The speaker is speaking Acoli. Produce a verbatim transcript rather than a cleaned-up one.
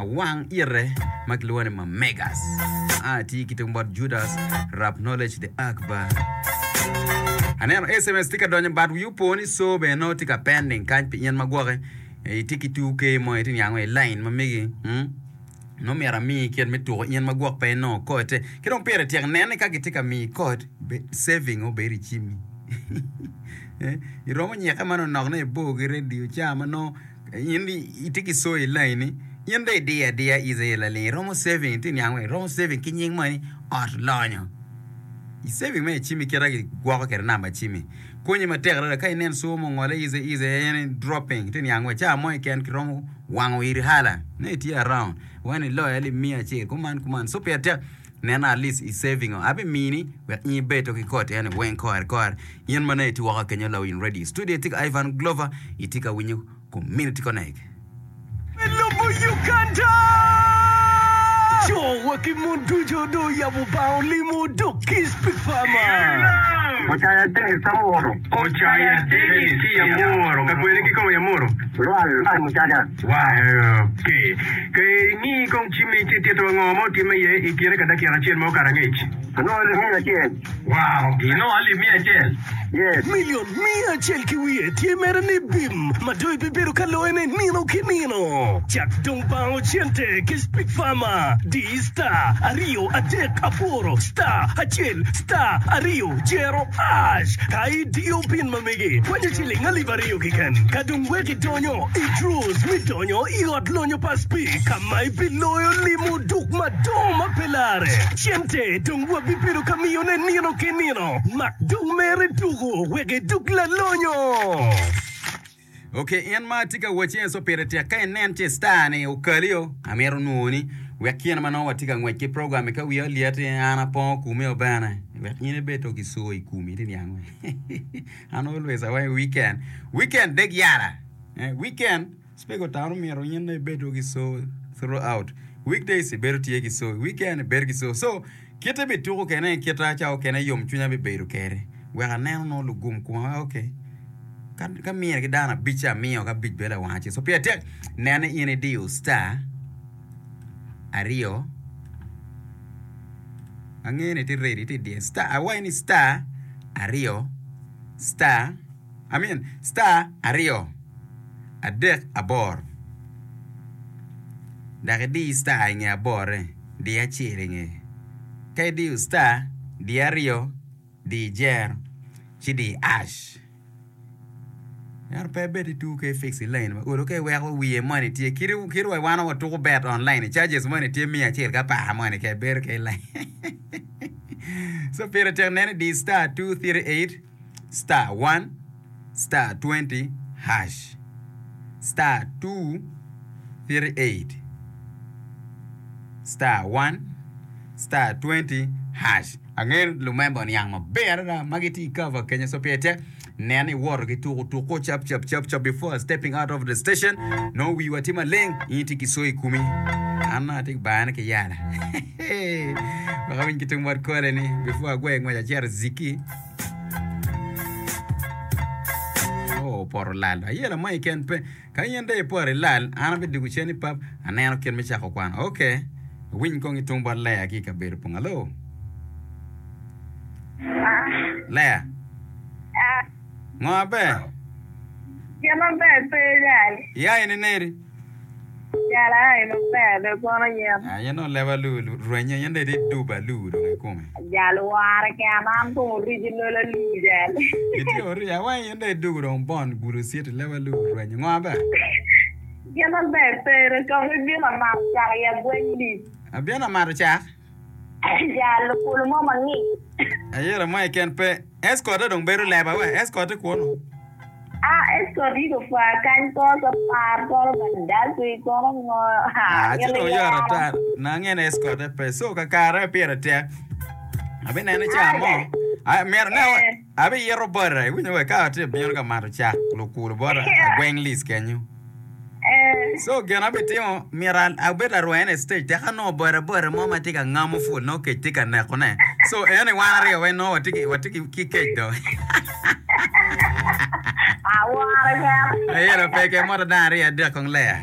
Awang ite ma kilwongo ni Mamegas. A tye ki tung bot Judas Rap Knowledge the Akbar. Aneno S M S tye ka donyo but wiyi opo ni so bene nongo tye ka pending kany pi in ma gwoki itye ki two K mo itye niango i line ma megi mm? Nongo myero amiyi kit me tuko in ma gwok pe inongo code. Ki dong pire tek nen ni ka gitye ka miyi code saving obedo i cimmi. Iromo nyikke manonok ni ibor ki radio ca ma nongo in itye ki soyo i laini, in dong idiyo adiya easy laling iromo saving itye niang weng iromo saving ki nying moni ot lonyo. I saving me i cimmi kit ma gigwoko kwede namba cimmi konyi matek adada ka inen soyo mo ongole easy easy en dropping itye niang weng ca mo keken kiromo wango iri hala nongo itye around wen iloyo alip miya acel kuman kuman so pire tek neno at least i saving o abimini wek in ibed to ki koti eni weng kore kore in ma nongo itye woko kenyo lawiny radio studio itye ka Ivan Glover itye ka winyo Community Connect. Me lobo Uganda! Co wa ki mon ducu dong oyabo bang olimo dok ki Speak Farmer. Ocaya Dennis Amuro. Ocaya Dennis ki Amuro. Ka kwene ki kome Amuro? Lwal Mucaca. Wow, okay. Ka ingi kong cimmi ci itito ngo ma otimme iye i kine ka dakika acel ma okato angec. Anongo alip miya acel. Wow, inongo alip miya acel? Yes. Milion miya acel ki wiye tye mere ni bim ma dong ibibedo ka loyone nino ki nino. Cak dong bango cente ki Speak Farmer. Di star aryo adek aboro star acel star aryo jero ash ka idiyo pin ma megi kwanyo ciling alip aryo keken. Ka dong wek idonyo i draws me donyo i ot lonyo pa Speak ka ma ibiloyo limo duk madongo ma pe lare. Cente dong wabibedo ka miyone nino ki nino. Mak dong mere tuko wek idug lalonyo. Ok, in ma atye ka wacci en pire tek ka inen ci star ni okali o, amito nwoni wek kine ma nongo watye ka ngwec ki program ka wiya olyeti an apongo kumi o bene wek in ibed to ki soo i kumi iti niang we an always awaco weekend weekend deg yala eh, weekend Speke otano myero in ibed ki soo throughout weekdays ibedo tye ki soo weekend ibedo ki soo so kite bituko kene kita ca okene yom cwinya bibedo kede wek aneno nongo lugum kuma ok ka ka mine ki dano abic ci amiyo ka abic bedo lawang acel so pire tek nen ni in idiyo star aryo angeyo ni itye ready itye idiyo star awaci ni star aryo star I mean star aryo adek aboro dok idi star i nge aborre di acel i ngeye ka idiyo star di aryo di jero ci di ash ento pe ibed ituko ka ifix i line ma olo ka iweko wiye moni tye kit wa wan watuko bet online charges moni tye miya acel ki apar moni ka ibedo ki i line so pire tek nene di star two three eight star one star twenty hash star two three eight star one star twenty hash. Angeyo ni lumemba oniang maber adada ma gitye i cover kenyo so pire tek nen ni iwoto ki tuko tuko cap cap cap cap before stepping out of the station nongo wiwa tye maleng in itye ki soyo i komi an nongo atye ka bayone ki yala wek awiny ki tung bot kole ni before agwe ngwec acito i ziki Oh, opoto lal. Ayela mo keken pe. Ka in dong ipoto ilal, an abidwogo cen i pub, aneno kit me cako kwano. Ok. Awiny kong i tung bot Lea ki i kabedo pong. Alo? Lea? Ngo aber? Gin maber pe jal. Ia in ineri? Jal aa i maber dong kono yen. Ah, yen dong leb alu rwenye, yen dong itye dub alu dong ikome. Jal wore keken an kong orici lol alu jal. Itye orici awa yen dong idugo dong bon gudo city leb alu rwenye. Ngo aber? Gin maber pe dong kong ibino amato cak i agweny lic. Abino amato cak? Jal lukulu mo mangic. Ayela mo keken pe. Escort-te dong bedo leba we, escort-te kunu. Ah, escort yi gupwa kany kono ka par kono gaddafi kono ngo Ah, ci dong yot ata. Nange ni escort-te pe. So kakare pire tek. Abinene ca mo. Ah, myero ne abiyito bota. Iwinyo we ka atye bino ka mato cak lukulu bota agweng list kenyo. So gin abitimo myero abed arwene i stage tek anongo boda boda mo ma tye ka ngamo pul nongo kec tye ka nekone so eni wan aryo weng nongo watye ki watye ki kec do. Aworo keken. Ayelo pe ke moto dano aryo adek kong ler.